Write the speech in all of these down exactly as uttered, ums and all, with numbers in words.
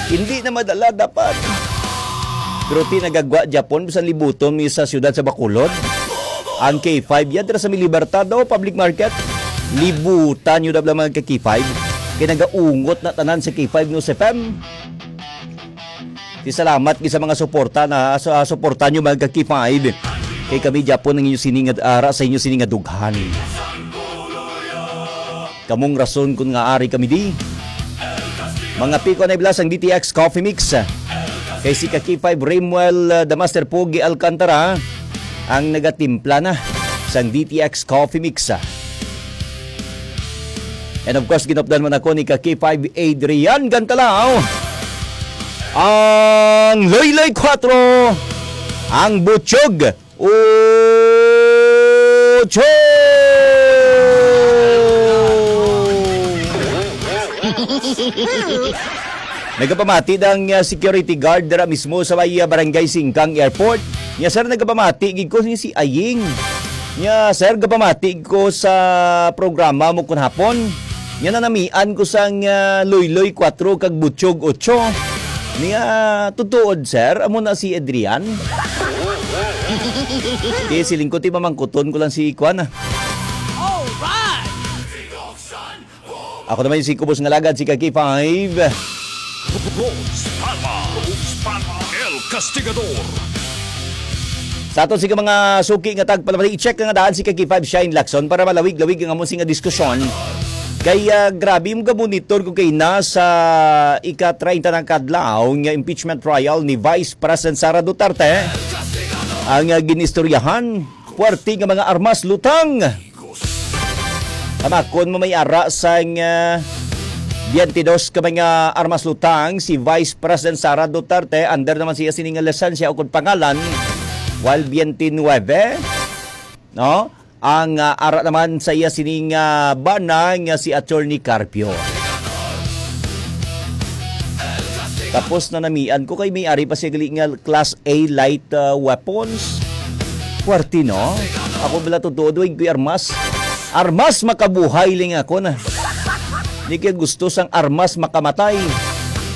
Hindi na madala dapat. Pero ti nagagwa Japon, bisan libuton mi sa siyudad sa Bacolod. Ang K five yan, dira sa may Libertado Public Market. Libutan nyo na lang mga ka K five. Kaya nagaungot na tanan sa K five News F M. Di salamat gid sa mga suporta na sa suporta nyo mga ka K five. Kay kami Japon ang inyo sining ara sa inyo sining dughan. Kamong rason kun nga ari kami di. Mga piko na iblas ang D T X Coffee Mix. Kay si ka K five Ramuel, uh, the Master Pogi Alcantara ang nagatimpla na sang D T X Coffee Mix. And of course, ginupdan man ako ni ka K five Adrian Gantalao. Ang Loyloy Quattro, ang Butchog Ocho. Nagapamati ang, uh, security guard dira mismo sa may, uh, Barangay Singkang Airport. Nya, sir, nagapamati gid ko ni si Aying. Nya, sir, gapamati ko sa programa mo kun hapon. Nya, nanamian ko sang, uh, Loyloy Quattro kag Butchog Ocho. Nya, tutuod, sir, amo na si Adrian. Di, siling ko, ti mamangkuton ko lang si Kwan, ah. Alright! Ako naman si Kubos nga Lagad, si ka K five. Rose Palma. Rose Palma. El Castigador. Sa aton sige mga suki nga tagpalamali, i-check nga daan si ka K five Shine Lacson para malawig-lawig ang among singa diskusyon. Kay, ah, grabe yung gamonitor ko kay na sa ika-treinta na kadlaw nga impeachment trial ni Vice President Sara Duterte. Ang, ah, ginistoryahan, puwerte nga mga armas lutang. Hamakon mo may ara sang, ah, twenty-dos ka mga armas lutang si Vice President Sara Duterte, under naman siya sining lisensya ukon pangalan, while twenty-nine, no? Ang, ah, ara naman sa iya sining, ah, bana nga si Attorney Carpio. Tapos na namian ko kay may ari pa siya gali nga class A light, uh, weapons. Puwerte, no? Ako bala totoo, duwag ko'y armas. Armas makabuhay lang ako na. Di kaya gusto sang armas makamatay.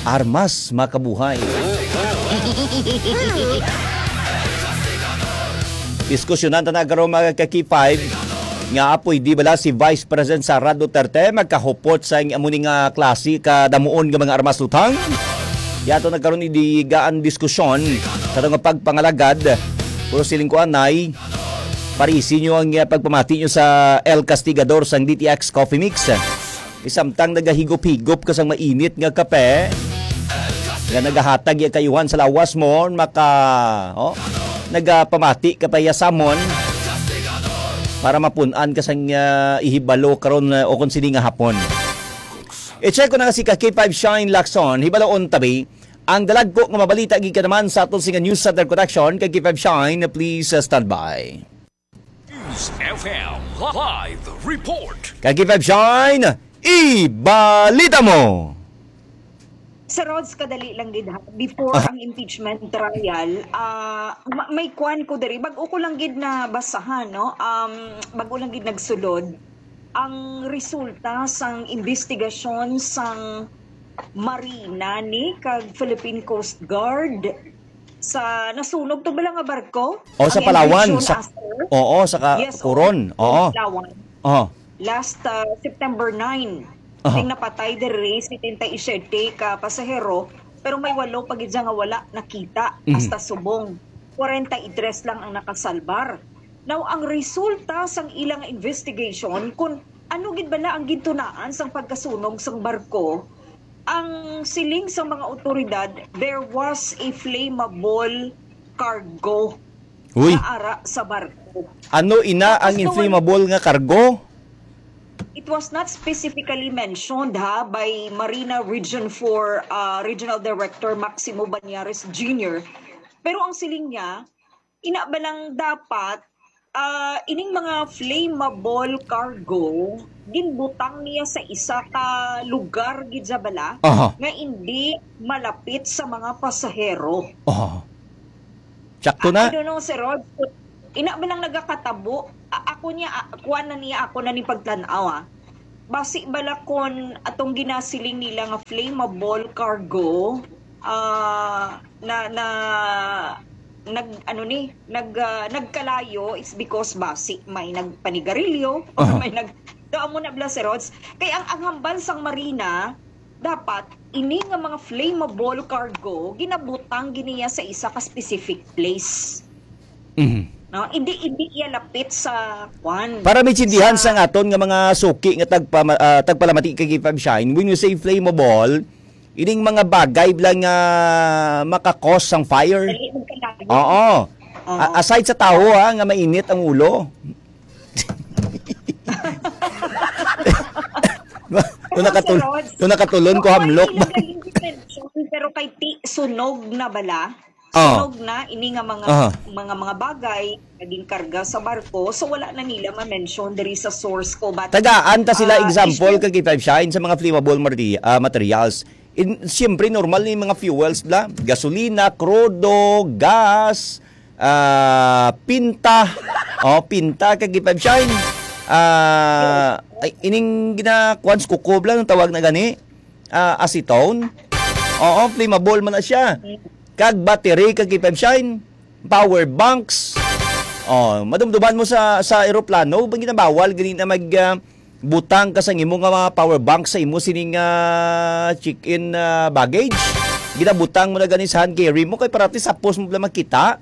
Armas makabuhay. Diskusyonan ta na karon, mga ka-K five, nga apoy di bala si Vice President Sara Duterte magkahupot sa amo ni nga klase ka damuon nga mga armas lutang. Yato nagkaroon ni digaan diskusyon sa nga pagpangalagad. Pero siling ko anay, parisi nyo ang, uh, pagpamati nyo sa El Castigador sang D T X Coffee Mix. Isamtang nagahigop-higop ka sang mainit nga kape, nga nagahatag ya kayuhan sa lawas mo, maka, oh, nagapamati ka pa ya samon para mapun-an ka sang, ah, ihibalo karon, ah, o kung sini nga hapon. I-check ko na nga si ka K five Shine Lacson, hibaloon tabi, ang dalagko nga mabalita gikan naman sa aton singa News Center Connection. Kay K five Shine, please, uh, stand by. News F M live report. Kag K five Shine, ibalita mo. Sir Rods, kadali lang gid ha. Before Aha. ang impeachment trial, ah, ma- may kwan ko diri. Bago ko lang gid nabasahan, no? Um, bago lang gid nagsulod ang resulta sang investigasyon sang Marina ni kag Philippine Coast Guard sa nasunog to bala nga barko. O, sa Ang Palawan, Envision sa, Aster? oo, sa Ka-, Yes, Coron, oo, oo. Palawan. Oo. Last, uh, September nine, Aha. Ding napatay diri setenta y siete ka pasahero, pero may walo pa gid siya nga wala nakita Mhm. hasta subong. Kwarenta y tres lang ang nakasalbar. Now, ang resulta sang ilang investigation, kung ano gid bala ang gintunaan sang pagkasunog sang barko, ang siling sa mga otoridad, there was a flammable cargo Uy. nga ara sa barko. Ano ina Tapos ang doon inflammable nga cargo? It was not specifically mentioned, ha, by Marina Region four, uh, Regional Director Maximo Banyares Junior. Pero ang siling niya, ina ba lang dapat, ah, ining mga flammable cargo, ginbutang niya sa isa ka lugar gid sa bala Aha. nga hindi malapit sa mga pasahero. Aha. Sakto I, na. I don't know, Sir Rod. Ina ba lang nagakatabo? A- ako niya, a- kuwan na niya ako na ni pagtanaw, ah. basi bala kon atong ginasiling nila nga flammable cargo, ah, na, na, nag, ano ni, nag, ah, nagkalayo, it's because basi may nagpanigarilyo or Aha. may nag, do amo na bala si Rods. Kay ang, ang hambal sang Marina, dapat ini nga mga flammable cargo ginabutang giniya sa isa ka specific place. Mhm. No, hindi, hindi iya lapit sa kwan, Para maintindihan sa sang aton nga mga suki nga tagpa-, ah, tagpalamati kay K five Shine, when you say flammable, ining mga bagay lang nga maka-cause sang fire. Dali magkalayo. Oo. Oo. A-, aside sa tawo, ha, nga mainit ang ulo. Kung Pero nakatul-, si Rods, kung nakatulon ko, oo, hamlok hindi ba? Lang galing detention, pero kay ti sunog na bala? Oh. Sunog na ini nga mga, Aha. mga, mga bagay naging karga sa barko, so wala na nila ma-mention diri sa source ko. But, Tagaan ta sila ah, example usually kag K five Shine sa mga flammable marti-, ah, materials. In, siyempre, normal ni mga fuels bla, gasolina, krudo, gas, ah, pinta. Oh, pinta kag K five Shine. Ah, ay, ining gina-, kuwan, kuko bla, ang tawag na gani? Ah, acetone. Oo, flammable man na siya. Kag battery kag K five Shine, power banks. Oh, madumduman mo sa, sa eroplano, bang ginabawal gani na mag, ah, butang ka sang imo nga mga power bank sa imo sining, ah, check-in, ah, baggage? Ginabutang mo na gani sa hand carry mo kay parati sapos mo lang makita.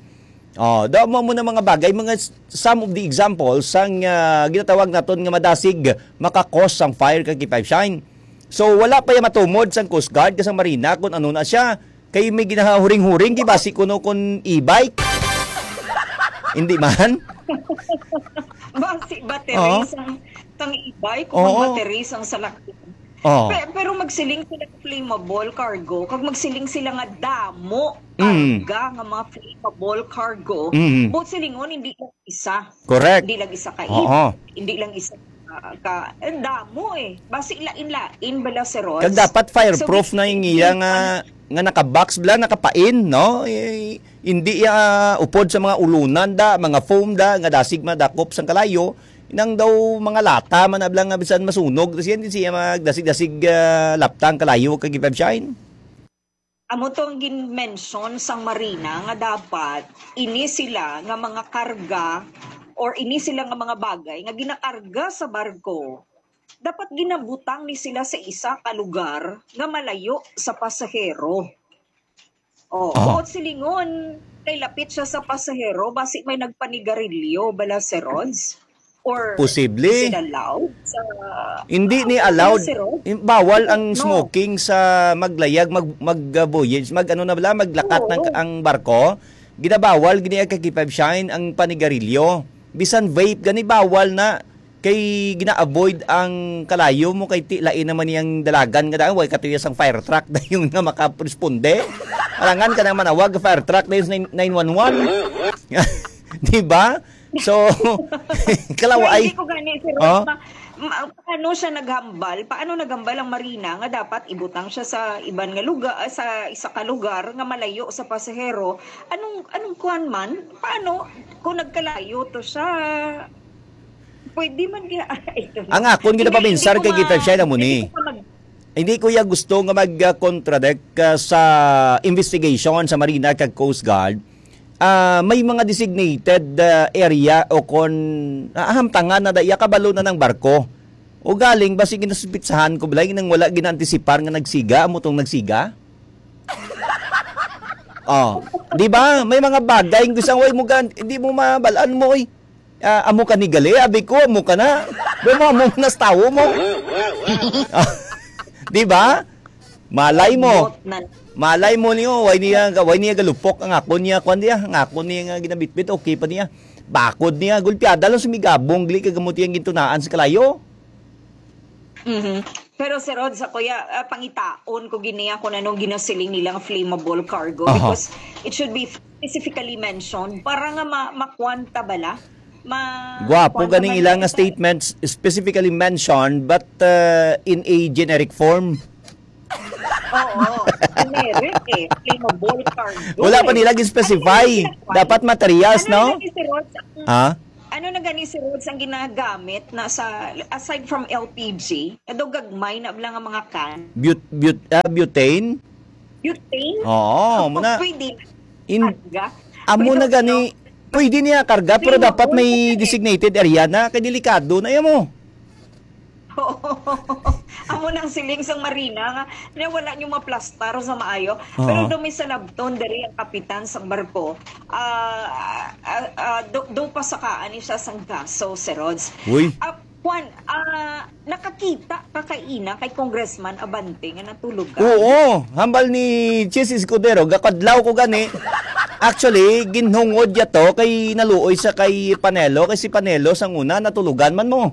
Oh, daw mo, mo na mga bagay, mga s-, some of the examples sang, ah, ginatawag naton nga madasig maka-cause sang fire kag K five Shine. So, wala pa yung matumod sang Coast Guard kag sang Marina kung ano na siya. Kay may ginahuring-huring, di ba? Si kuno kun e-bike? Hindi man. Basi battery Oo. sang, sang e-bike, kung Oo. battery sang salakyan. Oo. Pe-, pero magsiling sila flammable cargo, kag magsiling sila nga damo Mm. karga nga mga flammable cargo, Mm. buot silingon, hindi lang isa. Correct. Hindi lang isa ka Oo. ip-, hindi lang isa ka, ka, eh, damo eh. Basi lain-lain bala si Rods. Kag dapat fireproof So, na yung hindi iya nga, pa nga naka-box bala, nakapain, no? Eh, hindi iya upod sa mga ulunan da, mga foam da, nga dasig madakop sang kalayo, nang daw mga lata man abla nga bisan masunog, kasi hindi siya magdasig-dasig, ah, laptang kalayo kag K five Shine. Amo to ang gin-mention sang Marina nga dapat ini sila nga mga karga or ini sila nga mga bagay nga ginakarga sa barko, dapat ginabutang ni sila sa isa ka lugar nga malayo sa pasahero. Oh, Oo. buot silingon, kay lapit siya sa pasahero, basi may nagpanigarilyo bala si Rods? Or Posible. is it allowed sa Hindi ni ano allowed. si Rods? Im-, bawal ang No. smoking sa maglayag, mag, mag, uh, voyage, mag ano na bala, maglakat Oo. ng ang barko. Ginabawal gini ang K five Shine ang panigarilyo. Bisan vape gani bawal na kay gina-avoid ang kalayo mo kay ti lain naman niyang dalagan nga daan, way katuya sang fire truck dayon nga makaresponde. Alangan ka nang manawag fire truck dayon sa nine one one. Di ba? So, Pero kalawa ay hindi ko gani, sir, Oh? ma-, ma-, paano siya naghambal? Paano naghambal ang Marina nga dapat ibutang siya sa iban nga lugar, sa isa ka lugar nga malayo sa pasahero? Anong, anong kuwan man? Paano kung nagkalayo to siya? Pwede man kaya, ito na. Ang akon Hindi, ginapaminsar hindi ko kay Guitar ma-, Shine amo hindi ni. ko pa mag- Hindi ko ya gusto nga mag-contradict ka sa investigation sa Marina kag Coast Guard. Ah, may mga designated, ah, area o kon, ah, hamtangan na da iya kabalo na ng barko. O galing, basi ginasuspitsahan ko, balay, nang wala ginaantisipar nga nagsiga, amo tong nagsiga? Oh, di ba? May mga bagay nga gusto way mo gan-, hindi mo mabalaan mo, oy. Ah, amo ka ni gali, abi ko, amo ka na. Di mo, amo na sa tawo mo. Ah, di ba? Malay mo. Ambot na. Malay mo niyo, way niya, way niya galupok ang ako niya, kwan niya, ang ako niya nga ginabitbit, okay pa niya. Bakod niya, gulpiada lang sumigabong, gli, kagamuti ang gintunaan sa kalayo. Mhm. Pero, Sir Rod, sa kuya, ah, pangitaon ko gini, ah, kung anong ginasiling nila nga flammable cargo, Aha. because it should be specifically mentioned para nga ma-, makwanta bala. Ma-, Gwapo kwanta ganing man ila nga ito. Statements specifically mentioned but, uh, in a generic form. Oo, generic eh. Flammable cargo Wala pa eh. nila gi-specify. Ano yung sinakwai? Dapat materials, Ano no? nila ni Sir Rod sa Ha? Ano na gani, Sir Rods, ang ginagamit na sa, aside from L P G, ado gagmay na lang ang mga can? But, but, ah, butane? Butane? Oo, muna. Pwede. In, Aga. Amo na Pwede, gani, pwede niya karga, pero Pero dapat may pwede. Designated area na, kay delikado na yan mo. Oo. Amo nang siling sang Marina nga, na wala niyo maplastar sa maayo. Pero Oo. do may salabton diri ang kapitan sang barko. Ah, ah, ah, do, do pasakaan ni siya sang kaso, Sir Rods. Uy. Ah, Juan, ah, nakakita ka kaina kay Congressman Abante nga natulog ka? Oo, hambal ni Chis Escudero, gakadlaw ko gani. Actually, ginhungod ya to kay naluoy sa kay Panelo, kay si Panelo sang una natulugan man mo.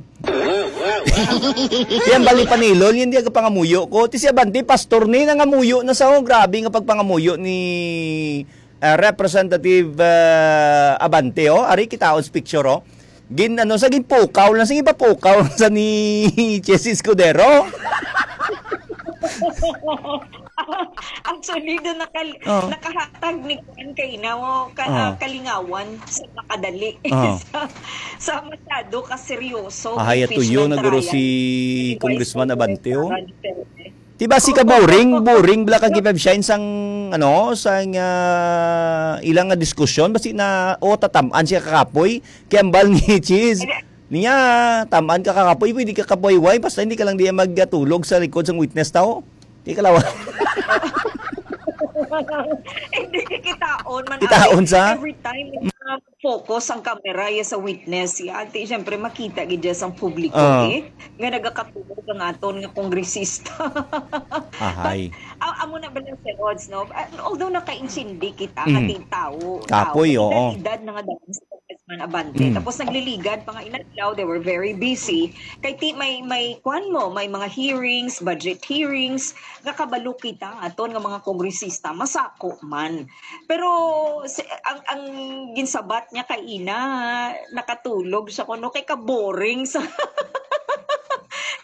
Yan bali Panelo, yan di ang pangamuyo ko. Ti si Abante, pastor ni, nangamuyo na sa, oh, grabe nga pagpangamuyo ni ah, Representative ah, Abante, oh. Ari kita sa picture, oh. Gin, ano, sa ginpukaw lang, sige, papukaw lang sa ni Chis Escudero. Actually, doon nakal- Oh. nakahatag ni Juan kaina mo ka, Oh. ah, kalingawan sa makadali Oh. sa, sa masyado ka seryoso. Ahaya tuyo na guro si Congressman Congressman Abante, oh. Duterte. Di ba si ka boring, boring bla ka give shine sang, ano, sang ah, ilang nga diskusyon, basi na, o, tatam-an siya kakapoy, kay hambal ni Chis. Niya, taman ka kakapoy, pwede ka kapoy, why? Basta hindi ka lang di magtulog sa likod sang witness tao. Di ka lawa. Hindi, kitaon man. Kitaon Ate. sa? Every time na focus ang kamera ya sa witness, ya, ate, syempre, makita gid dyan sang publiko, Ah. eh. Nga nagakatulog ang aton nga kongresista. Ahay. But, a- amo na ba lang, Sir Rods, no? Ah, although nakaintindi kita, Mm. nga di tao, Kapoy, tao, oo. edad na nga dahil sa Congressman Abante. Mm. Tapos nagliligad pa nga inadlaw, they were very busy. Kay ti, may, may, kwan mo, may mga hearings, budget hearings, nga kabalo kita nga aton nga mga kongresista, masako man. Pero si, ang ang ginsabat niya kay ina, nakatulog siya kuno kay kaboring sa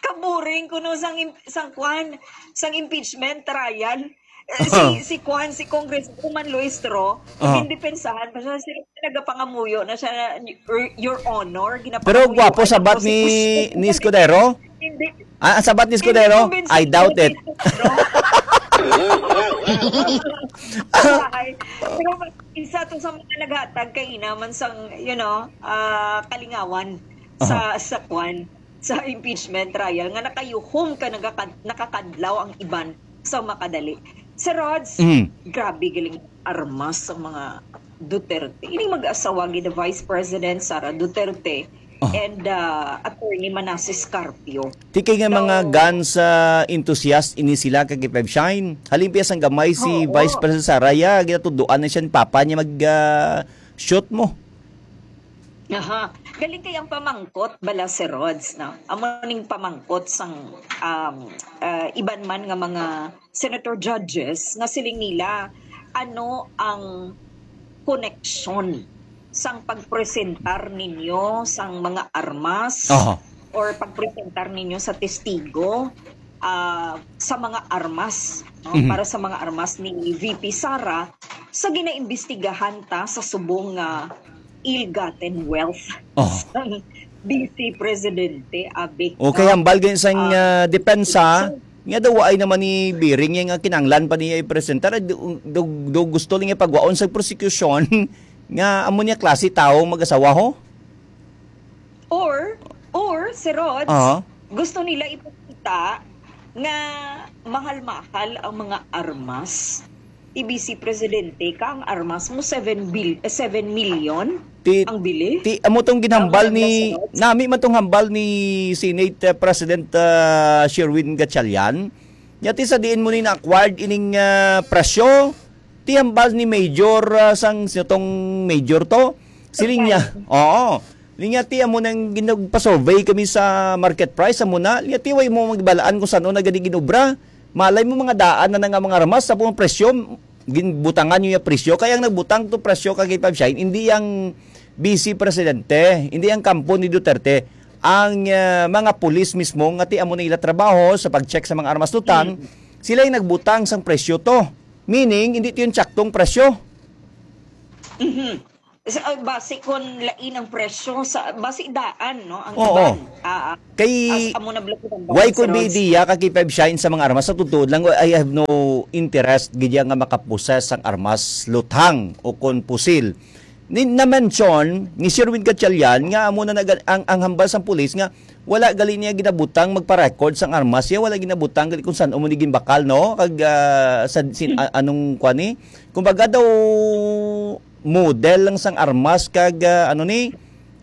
kaboring kuno sang im- sang kwan, sang impeachment trial. Eh, si si kwan, si Congresswoman Luistro, Ah. gindepensahan pa siya, sila nagapangamuyo na siya, "Your, Your Honor, ginapangamuyo." Pero gwapo sabat ni ni Escudero? Hindi. Ah, ang sabat ni Escudero? I doubt it. Ay, pero isa to sa mga naghatag kay ina man sang, you know, ah, kalingawan sa sa kwan, sa impeachment trial nga nakayuhom ka nagakad- nakakadlaw ang iban sa makadali. Sir Rods, Mm. grabe galing armas sa mga Duterte. Ini mag-asawa gid Vice President Sara Duterte Oh. and uh, Attorney Manases Carpio. Ti kay nga So, mga guns ah, enthusiast ini sila kag Pebshine. Halimpiya sang gamay si Oo. Vice President Sara, ya, ginatuduan na siya ni Papa niya mag ah, shoot mo. Aha. Galing kay ang pamangkot bala si Rods, no? Amo ning pamangkot sang um, uh, iban man nga mga senator judges nga siling nila ano ang koneksyon sang pagpresentar ninyo sang mga armas Aha. or pagpresentar ninyo sa testigo ah, sa mga armas, no? Mhm. Para sa mga armas ni V P Sara sa ginaimbestigahan ta sa subong nga ill-gotten wealth Oh. sang vice presidente, abi. Okay, No? hambal gani sang ah, depensa, nga daw ay naman ni Biring yung kinanglan pa niya i-presentar. Do, do, do gusto lang ipagwaon sa prosecution nga amo niya klase tao mag-asawa ho? Or, or, si Rods, Ah. gusto nila ipakita nga mahal-mahal ang mga armas. Ti Vice Presidente ka, ang armas mo seven bil, eh, seven million Ti, ang bili. Ti amo tong ginhambal Ang ni nasa notes. Nami man tong hambal ni Senate uh, President uh, Sherwin Gatchalian. Nya ti sa diin mo ni na-acquired ining uh, presyo, ti hambal ni Major uh, sang sino tong Major to. Siling niya. Oo. Niya ti amo nang ginagpa-survey kami sa market price amo na. Niya ti way mo magbalaan kung saan na gani ginobra. Malay mo mga daan na nga mga armas sa pong presyo ginbutangan niyo yung presyo. Kaya ang nagbutang to presyo kag Pabshine, hindi ang vice presidente, hindi ang kampo ni Duterte, ang ah, mga pulis mismo nga ti amo na ila trabaho sa pag-check sa mga armas tutan, sila yung nagbutang sang presyo to. Meaning, hindi to yung tsaktong presyo. Mhm. Sa, ah, base kon lain ang presyo sa, base daan, no, ang Oo. iban. Ah, ah. Kay, As amo na bala ko, why could be Sir Rods? Idea ka kay Five Shine sa mga armas? Sa totoo lang, I have no interest gid nga makaposes sang armas, luthang o kon pusil. Ni, na-mention ni Sir Win Gatchalian nga amo na naga-, ang, ang hambal sang pulis nga wala gali niya ginabutang magpa-record sang armas, siya wala ginabutang gali kung san-o mo ni ginbakal, no? Kag, ah, sa, sin-, a-, anong kuan ni? Kumbaga daw, model lang sang armas kag, ah, ano ni,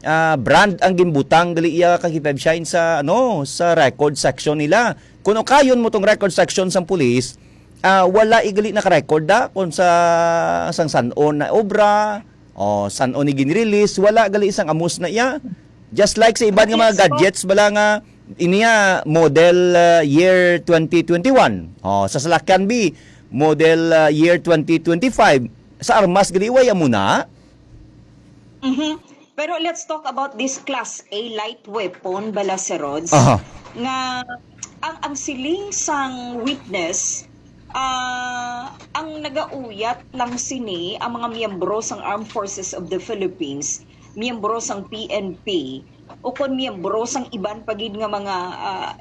ah, brand ang ginbutang gali iya kag Five Shine sa, ano, sa record section nila. Kung ukayon mo tong record section sang pulis, ah, wala igali naka-record da kung sa sang san-o na obra, o san-o ni gin-release, wala gali sang amos na iya. Just like sa iban nga mga Yes, po. Gadgets bala nga iniya model, ah, year twenty twenty-one. O, sa salakyan bi, model, ah, year twenty twenty-five. Sa armas gali, way amo na. Mhm. Pero let's talk about this Class A light weapon, bala, Sir Rods, Aha. nga ang, ang siling sang witness, ah, ang nagauyat lang sini ang mga miyembro sang Armed Forces of the Philippines, miyembro sang P N P, o kon miyembro sang iban pa gid nga mga, ah,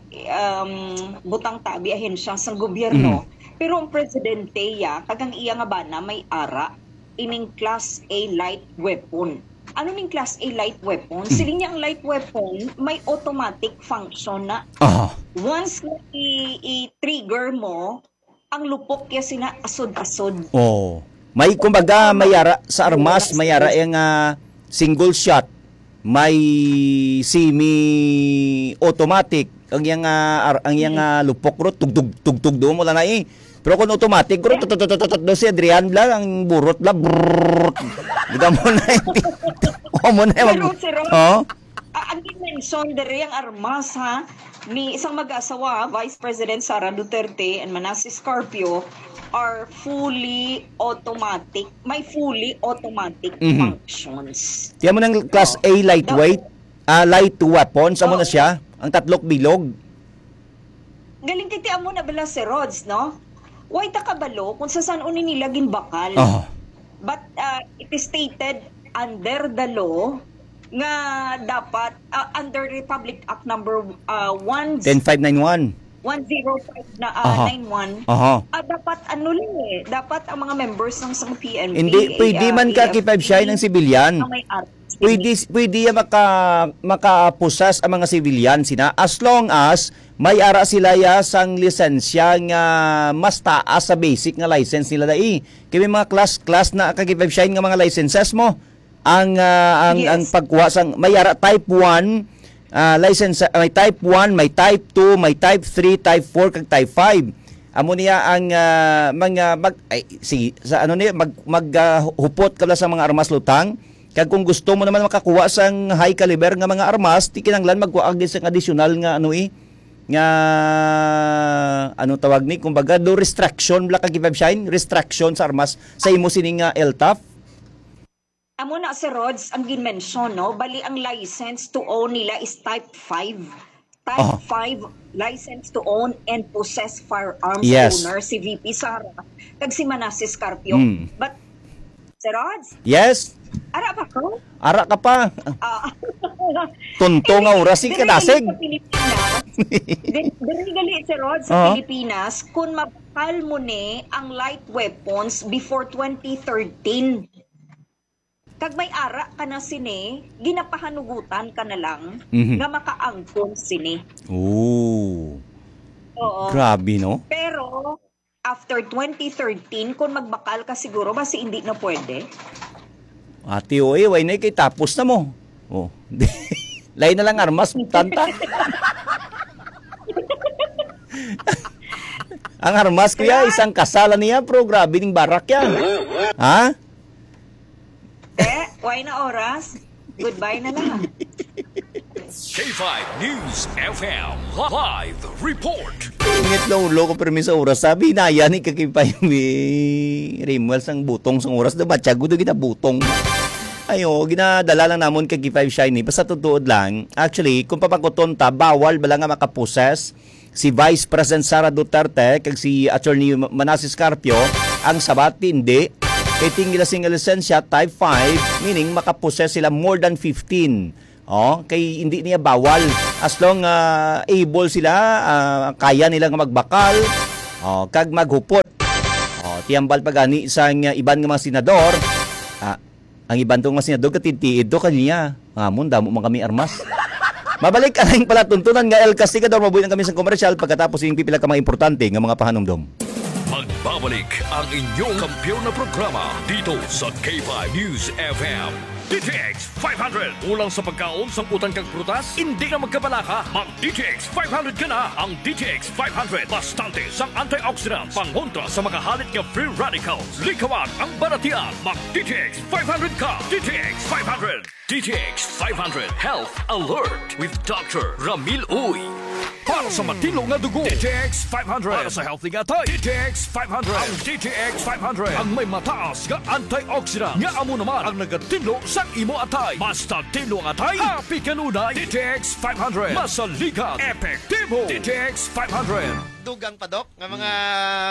um, butang tabi, ahensya sang gobyerno. Mhm. Pero ang presidente ya, kag ang iya nga bana may ara ining Class A light weapon. Ano ning Class A light weapon? Hmm. Siling niya ang light weapon, may automatic function na. Aha. Once nga i-, i-trigger mo, ang lupok ya sina asod-asod. Oh. May, kumbaga, may ara sa armas, may ara yang, ah, single shot, may semi-automatic, ang yang, ah, ar-, ang yang, ah, lupok ro, tugtog, tugtog doon mo lang na eh. Pero kung automatic, kuro, tututututut, do si Adrian bla, ang burot bla, brrrr. Ikaw mo na yung, ikaw mo na yung mag-, Pero, Sir Ron, oh? Ah, ang mention diri ang armas, ha, ni isang mag-asawa, Vice President Sara Duterte and Manasseh Carpio are fully automatic, may fully automatic Mhm. functions. Tiyan mo ng class Oh. A lightweight, The ah, light weapons, amo na Oo. siya, ang tatlok bilog. Galing titi amo na bala si Rods, no? Way ta kabalo kung sa san-o ni nila ginbakal. Aha. But, uh, it is stated under the law nga dapat, uh, under Republic Act number, uh, one Ten five nine one. One zero five na, uh, Aha. nine one, Aha. uh, dapat ano lang eh, dapat ang mga members ng, sa P N P, Hindi, pwede uh, man ka A F P, kay Five Shine ang civilian. ang may arms. Pwede, pwede yan maka-, maka-possess ang mga civilian sina, as long as may ara sila ya sang lisensya nga mas taas sa basic nga license nila dai. Kay may mga class, class na kag Five Shine nga mga licenses mo. Ang, ah, ang, Yes. ang pagkuha sang, may ara type one, ah, license, may type one, may type two, may type three, type four, kag type five. Amo niya ang, ah, mga mag-, ay, sige, sa ano niya, mag-, mag-, ah, hupot ka lang sa mga armas lutang. Kag kung gusto mo naman makakuha sang high caliber nga mga armas, ti kinahanglan magkuha ka gid sang additional nga ano eh, nga ano tawag ni, kumbaga do restriction bala ka Five Shine, restriction sa armas sa imo sini nga L T A F. Amo na, Sir Rods, ang ginmention, no? Bali, ang license to own nila is type five. Type Aha. five, license to own and possess firearms Yes. owner, si V P Sara, kag si Manasseh Carpio. Mm. But, Sir Rods? Yes. Ara pa ko? Ara ka pa. Ah. Tunto nga oras, Diri, sige, diri kadasig. gali sa Pilipinas. Di-, diri gali, Sir Rods, sa Oo. Pilipinas, kung mabakal mo ni ang light weapons before twenty thirteen, kag may ara ka na sini, ginapahanugutan ka na lang Mhm. nga makaangkon sini. Oo. Oo. Grabe, no? Pero, after twenty thirteen, kung magbakal ka siguro, basi hindi na pwede. Ate, oy, way na kay tapos na mo. Oh. Lain na lang armas, tanta. Ang armas, kuya, Wala. isang kasala niya, pero grabe ning barak yan. Ha? Eh, way na oras? Goodbye na lang. K five News F M live report. Ingit na ulo ko, permi sa oras. Sabi, hinaya ni ka K five, eh, Rimuel, sang butong sang oras. Diba, tiyago, do kita butong. Ayo, ginadala lang namon kay K five Shiny. Basta tutuod lang. Actually, kung papakuton ta, bawal bala nga makaposes si Vice President Sara Duterte kag si Attorney Manasseh Carpio ang sabat, hindi. Kay tingila sing lisensya, type five, meaning makapossess sila more than fifteen. Oh, kay hindi niya bawal. As long, ah, able sila, ah, kaya nila nga magbakal, oh, kag maghupot. Oh, tiyambal pa gani sang, ah, iban nga mga senador, ah, ang iban to nga senador, katitiid to kaniya. Ngamon, damo man kami armas. Mabalik ang palatuntunan nga El Castigador. Mabuhi lang kami sa komersyal pagkatapos ning pipila ka mga importante nga mga pahanumdom. Magbabalik ang inyong kampiyon na programa dito sa K five News F M. D T X five hundred. Kulang sa pagkaon, sang utang kag prutas? Hindi na magkabalaka. Mag D T X five hundred ka na. Ang D T X five hundred, bastante sang antioxidants, pangontra sa makahalit nga free radicals. Likawan ang balatian. Mag D T X five hundred ka. D T X five hundred. D T X five hundred Health Alert with Doctor Ramil Uy. Para sa matino nga dugo, D T X five hundred. Para sa healthy nga atay, D T X five hundred. Ang D T X five hundred ang may mataas nga antioxidant, nga amo naman ang nagatinlo sang imo atay. Basta tinlo ang atay, happy kanunay. D T X five hundred, masaligan, epektibo. D T X five hundred. Dugang pa, Doc, nga mga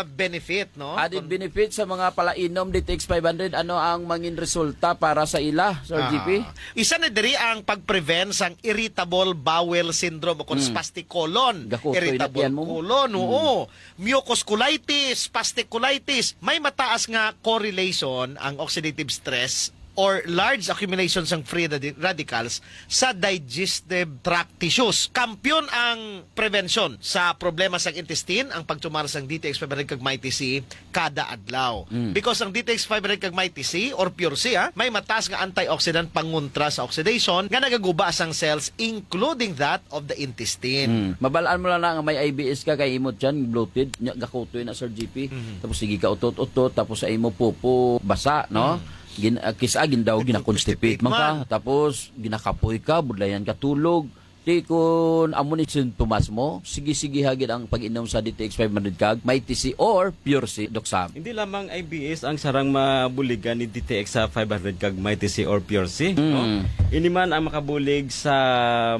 benefit, no? Added Kung benefit sa mga palainom D T X five hundred, ano ang mangin resulta para sa ila, Sir Ah. G P? Isa na diri ang pag-prevent sang irritable bowel syndrome o kung Mm. spastic colon. Gakutoy na Irritable tiyan mo. colon, Mm. oo. Mucus colitis, spastic colitis. May mataas nga correlation ang oxidative stress or large accumulation sang free radi-, radicals sa digestive tract tissues. Kampiyon ang prevention sa problema sang intestine, ang pagtumar sang D T X five hundred kag Mighty C kada adlaw. Mm. Because ang D T X five hundred kag Mighty C or Pure C, ah, may mataas nga antioxidant pangontra sa oxidation nga nagaguba sang cells, including that of the intestine. Mm. Mabalaan mo lang na nga may I B S ka kay imo tiyan bloated, nya gakutoy na, Sir G P. Mhm. Tapos sige ka utot-utot, tapos sa imo pupo basa, no? Mm. Gin-, ah, kis-, ah, gindaw, gina-constipate Constipate man ka. man. Tapos ginakapoy ka, budlayan ka tulog. Di kun amo ni sintomas mo, sige-sige ha gid ang pag-inom sa D T X five hundred kag Mighty C or Pure C, Doc Sam. Hindi lamang I B S ang sarang mabuligan ni D T X sa five hundred kag Mighty C or Pure C, no? Mm. Ini man ang makabulig sa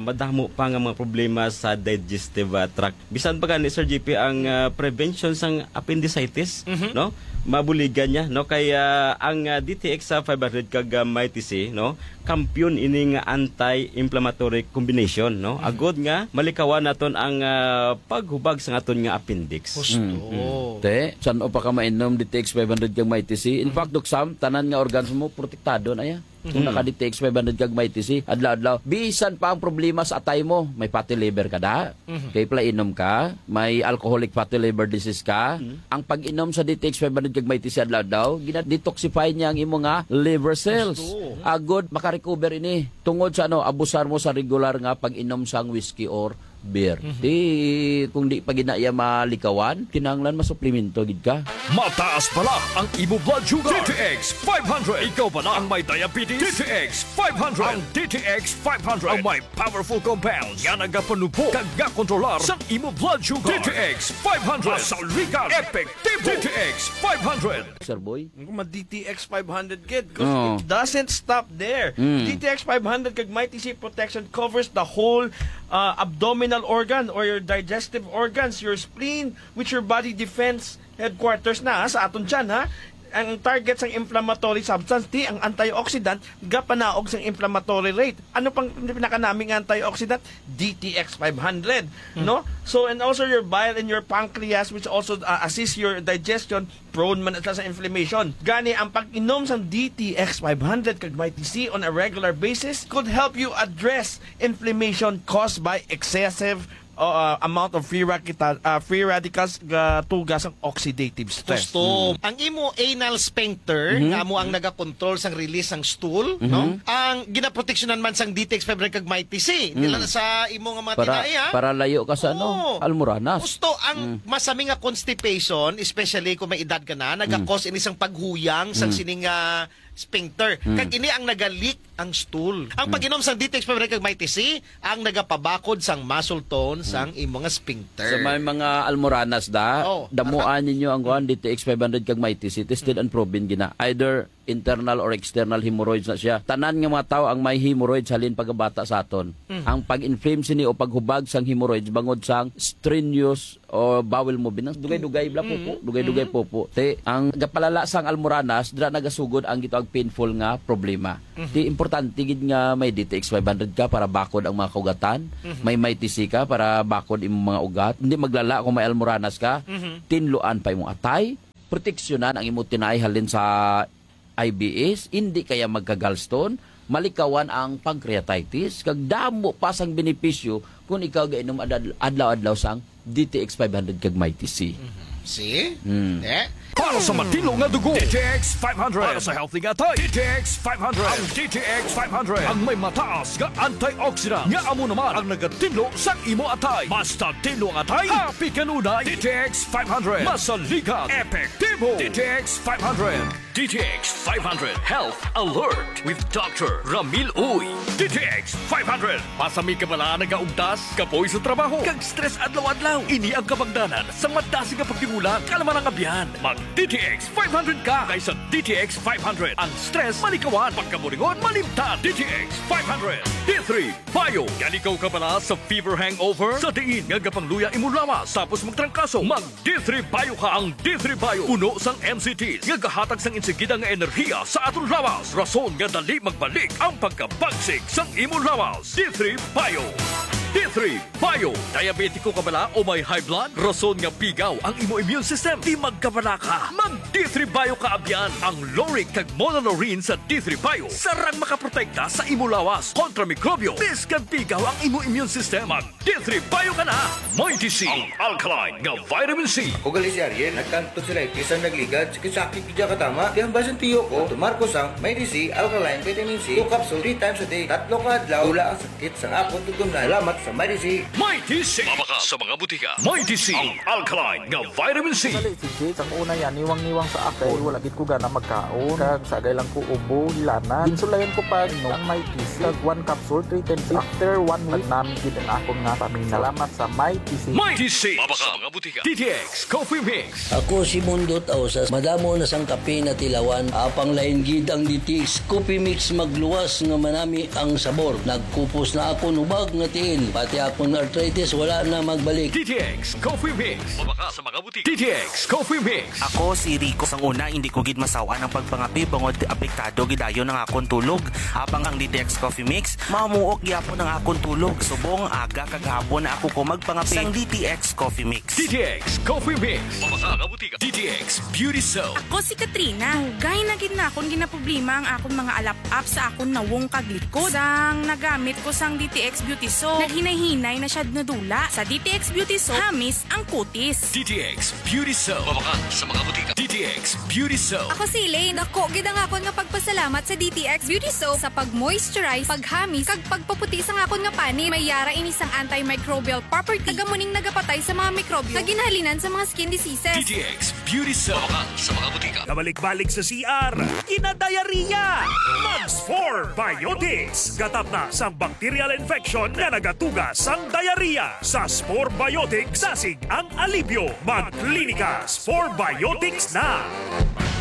madamo pa nga mga problema sa digestive, ah, tract. Bisan pa gani, Sir G P, ang, ah, prevention sang appendicitis, Mhm. no? Mabuligan niya, no? Kay, ah, ang, ah, D T X sa five hundred kag, ah, Mighty C, no? Kampiyon ini nga anti-inflammatory combination, no? Mhm. Agod nga malikawan naton ang, ah, paghubag sa aton nga appendix. Husto. Mm, mm. Te, san-o pa ka mainom D T X five hundred kag Mighty C? In Mhm. fact, Doc Sam, tanan nga organs mo protektado na ya. Kung Mm. naka-D T X five hundred kag Mighty C, adlaw-adlaw. Bisan pa ang problema sa atay mo, may fatty liver ka da, Mhm. kay palainom ka, may alcoholic fatty liver disease ka, Mm. ang pag-inom sa D T X five hundred kag Mighty C adlaw-adlaw, gina-detoxify niya ang imo nga liver cells. Gusto. Agod makarecover ini tungod sa ano, abusar mo sa regular nga pag-inom sang whiskey or beer. Mhm. Di, kung di pa gina iya malikawan, kinahanglan masuplemento gid ka. Mataas bala ang imo blood sugar. D T X five hundred. Ikaw bala ang may diabetes? D T X five hundred. Ang D T X five hundred ang may powerful compounds nga nagapanubo kag gakontrolar sa imo blood sugar. D T X five hundred. Masaligan. Epektibo. D T X five hundred. Sir Boy? Kung ma-D T X five hundred gid, 'cause Oo. it doesn't stop there. Mm. D T X five hundred kag Mighty C Protection covers the whole, uh, abdominal organ or your digestive organs, your spleen, which your body defense headquarters na, ha, sa aton tiyan, ha. Ang target sang inflammatory substance, ti ang antioxidant, gapanaog sang inflammatory rate. Ano pang pinakanami nga antioxidant? D T X five hundred, Mm. no? So, and also your bile and your pancreas, which also, uh, assist your digestion, prone man sila sa inflammation. Gani, ang pag-inom sang D T X five hundred kag Mighty C on a regular basis could help you address inflammation caused by excessive, uh, amount of free radical, uh, free radicals nga tuga sang oxidative stress. Gusto. Mm. Ang imo anal sphincter, Mhm. nga amo ang nagakontrol sang release sang stool, Mhm. no? Ang ginaproteksyonan man sang D T X five hundred kag Mighty C, Mm. nila sa imo nga mga Para, tinai, ha? para layo ka sa, ano, Oo. almoranas. Gusto ang Mm. masami nga constipation, especially kung may edad ka na, Mm. nagakos ini sang paghuyang sang Mm. sining, ah, sphincter. Mm. Kag ini ang nagalik ang stool. Ang Mm. pag-inom sang D T X five hundred kag Mighty C, ang nagapabakod sang muscle tone Mm. sang imo nga sphincter. So, may mga almoranas da, Oh, damuan ara- ninyo ang kuan, Mm. D T X five hundred kag Mighty C, tested Mm. and proven gina. Either internal or external hemorrhoids na siya. Tanan nga mga tawo ang may hemorrhoids halin pagkabata sa aton. Mhm. Ang pag-inflame sini o paghubag sang hemorrhoids bangod sang strenuous o bowel movement. Dugay-dugay bla, mhm, pupo, dugay-dugay, mhm, pupo. Ti, ang gapalala sang almoranas, dira nagasugod ang gitawag painful nga problema. Mhm. Ti, importante gid nga may D T X five hundred ka para bakod ang mga kaugatan. Mhm. May Mighty C ka para bakod imong mga ugat. Hindi maglala kung may almoranas ka. Mhm. Tinluan pa imong atay. Proteksyonan ang imo tinai halin sa I B S, hindi kaya magka-gallstone, malikawan ang pancreatitis, kag damo pa sang benepisyo kung ikaw gainom ad-, adlaw-adlaw sang D T X five hundred kag Mighty C. Mhm. See? Hmm. Eh? Para sa matino nga dugo, D T X five hundred. Para sa healthy nga atay, D T X five hundred. Ang D T X five hundred ang may mataas nga antioxidant, nga amo naman ang nagatinlo sa imo atay. Basta tinlo ang atay, happy kanunay. D T X five hundred. Masaligan, epektibo. D T X five hundred. D T X five hundred Health Alert with Doctor Ramil Uy. D T X five hundred. Basta may kabala nagaugtas, kapoy sa trabaho, kag stress adlaw-adlaw. Ini ang kabangdanan sa madasig nga pagdingula, kalma nga abyan. Mag D T X five hundred ka, kay sa D T X five hundred, ang stress malikawan, pagkaburingon malimtan. D T X five hundred. D three Bio. Gani ikaw kabala sa fever hangover? Sa diin nga gapangluya imo lawas, tapos magtrangkaso, mag D three Bio ka. Ang D three Bio puno sang M C Ts nga gahatag sang insigida nga enerhiya sa aton lawas, rason nga dali magbalik ang pagkabagsik sang imo lawas. D three Bio. D three Bio. Diabetiko ka bala o may high blood? Rason nga pigaw ang imo immune system? Di magkabala ka. Mag D three Bio ka, abyan. Ang lauric kag monolaurin sa D three Bio sarang makaprotekta sa imo lawas kontra mikrobyo, bisan pigaw ang imo immune system. Mag D three Bio ka na. Mighty C, ang alkaline nga vitamin C. Ako gali si Ariel, nagkantog sa lightis ang nagligad, sakit-sakit gid siya katama. Kaya ang basin tiyo ko, tumar ko sang Mighty C alkaline vitamin C, two capsule, three times a day. Tatlo ka adlaw, wala ang sakit sang akon tutumnan. Salamat sa Mighty C. Mighty C. Mabakal sa mga butika. Mighty C, ang alkaline nga vitamin C. Gali si Jake, ang una yan, niwang-niwang sa ako. Wala gid ko gana magkaon. Kag sagay lang ko ubo, hilanan. Ginsulayan ko pa, no, ang Mighty C. Kag one capsule, three times. After one week, nagnami gid ang akon nga pamina. Salamat sa Mighty C. Mighty C. Mabakal sa mga butika. D T X Coffee Mix. Ako si Mundot Ausas. Madamo na sang kape natilawan. Apang lain gid ang D T X Coffee Mix, magluwas nga manami ang sabor. Nagkupos na akon hubag nga tiil. Pati akon arthritis wala na magbalik. D T X Coffee Mix. Mabakal sa mga butika. D T X Coffee Mix. Ako si Rico. Sang una, hindi ko gid masaw-an ang pagpangape bangod apektado gid ayon ang akon tulog. Apang ang D T X Coffee Mix, mamuok gyapon ang akon tulog. Subong aga kag hapon na ako ko magpangape. Sang D T X Coffee Mix. D T X Coffee Mix. Mabakal sa mga butika. D T X Beauty Soap. Ako si Katrina. Dugay na gid na akon ginaproblema ang akon mga alap-ap sa akon nawong kag likod. Sang nagamit ko sang D T X Beauty Soap, naghinay-hinay na siya nadula. Sa D T X Beauty Soap, hamis ang kutis. D T X Beauty Soap. Mabakal sa mga butika. D T X Beauty Soap. Ako si Elaine. Dako gid ang akon nga pagpasalamat sa D T X Beauty Soap sa pag-moisturize, paghamis, kag pagpaputi sang akon nga panit. May yara ini sang antimicrobial property. Taga muning nagapatay sa mga mikrobyo nga ginhalinan sa mga skin diseases. D T X Beauty Soap. Mabakal sa mga butika. Kabalik-balik sa C R, kinadiarrhea. Mag Spore Biotics. Gatap na sang bacterial infection nga nagatuga sang diarrhea. Sa Spore Biotics, dasig ang alibyo. Magklinika Spore Biotics na.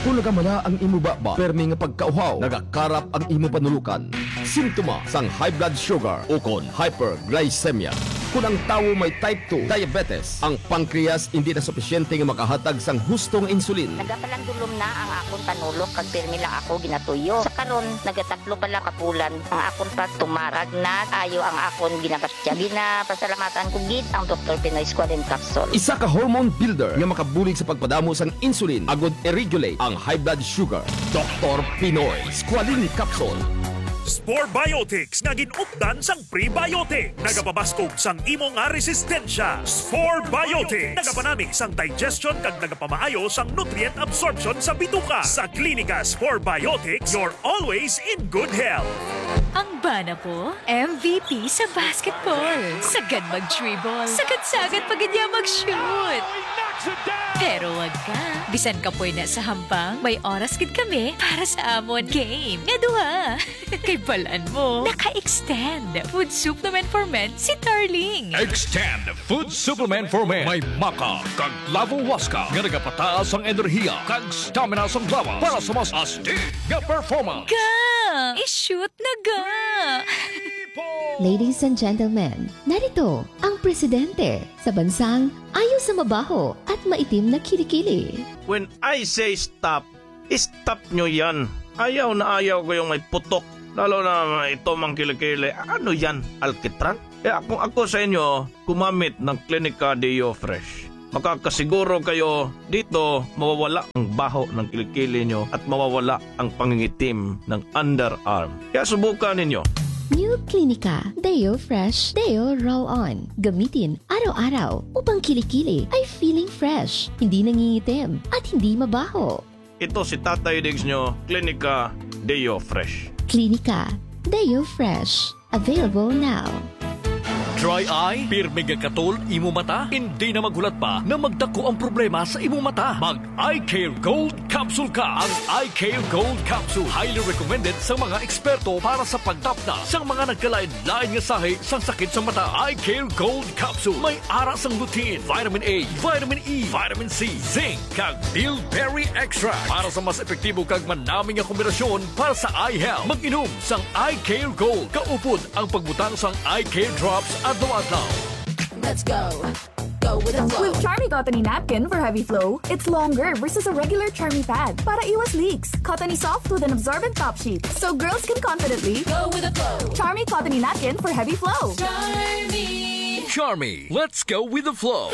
Kung nagamala ang imo baba, permi nga pagkauhaw, nagakarap ang imo panulokan, simptoma sang high blood sugar ukon hyperglycemia. Kung ang tawo may type two diabetes, ang pancreas indi na supisyente nga makahatag sang husto nga insulin. Nagapalandulom na ang akon panulok kag pirmi lang ako ginatuyo. Sa karon, nagatatlo pa lang ka bulan ang akon pagtumar. Kag nag-ayo ang akon ginabas- Ginapasalamatan ko gid ang Doktor Pinoy Squalene Capsule. Isa ka hormone builder nga makabulig sa pagpadamo sang insulin agud i-regulate ang high blood sugar. Doktor Pinoy Squalene Capsule. Spore Biotics nga gin-updan sang prebiotic. Nagapabaskog sang imo nga resistensya. Spore Biotics. Nagapanami sang digestion kag nagapamaayo sang nutrient absorption sa bituka. Sa klinika, Spore Biotics, you're always in good health. Ang bana ko, M V P sa basketball. Sagad mag-dribble. Sagad-sagad pa gid niya mag-shoot. Pero wag ka. Bisan kapoy na sa hambang, may oras gid kami para sa amon game nga duha. Kay balan mo, naka-extend food supplement for men si Tarling. Extend food supplement for men. May maca kag lavo huasca nga nagapataas ang enerhiya kag stamina sang lawas para sa mas astig nga performance. Ga! I-shoot na ga! Ladies and gentlemen, narito ang presidente sa bansang ayaw sa mabaho at maitim na kilikili. When I say stop, stop nyo yan. Ayaw na ayaw ko yung may putok. Lalo na ito mang kilikili. Ano yan? Alkitran? Kaya kung ako sa inyo, gumamit ng Clinica Deo Fresh. Makakasiguro kayo dito mawawala ang baho ng kilikili nyo at mawawala ang pangingitim ng underarm. Kaya subukan ninyo. New Clinica Deo Fresh Deo Roll On. Gamitin araw-araw upang kilikili ay feeling fresh, hindi nangingitim, at hindi mabaho. Ito si Tatay Diggs nyo, Clinica Deo Fresh. Clinica Deo Fresh. Available now. Dry eye, pirmi nga katol imo mata, hindi na maghulat pa na magdako ang problema sa imo mata. Mag Eye Care Gold Capsule ka. Ang Eye Care Gold Capsule highly recommended sa mga eksperto para sa pagtapna sa mga nagkalain-lain nga sahi sang sakit sa mata. Eye Care Gold Capsule may ara sang lutein, vitamin A, vitamin E, vitamin C, zinc, kag bilberry extract para sa mas epektibo kag manami nga kombinasyon para sa eye health. Mag-inom sang Eye Care Gold. Kaupod ang pagbutang sang Eye Care Drops adlaw-adlaw. Let's go. Go with the flow. With Charmy Cottony Napkin for heavy flow, it's longer versus a regular Charmy pad para iwas leaks. Cottony soft with an absorbent top sheet, so girls can confidently Go with the flow. Charmy Cottony Napkin for heavy flow. Charmy. Charmy, let's go with the flow.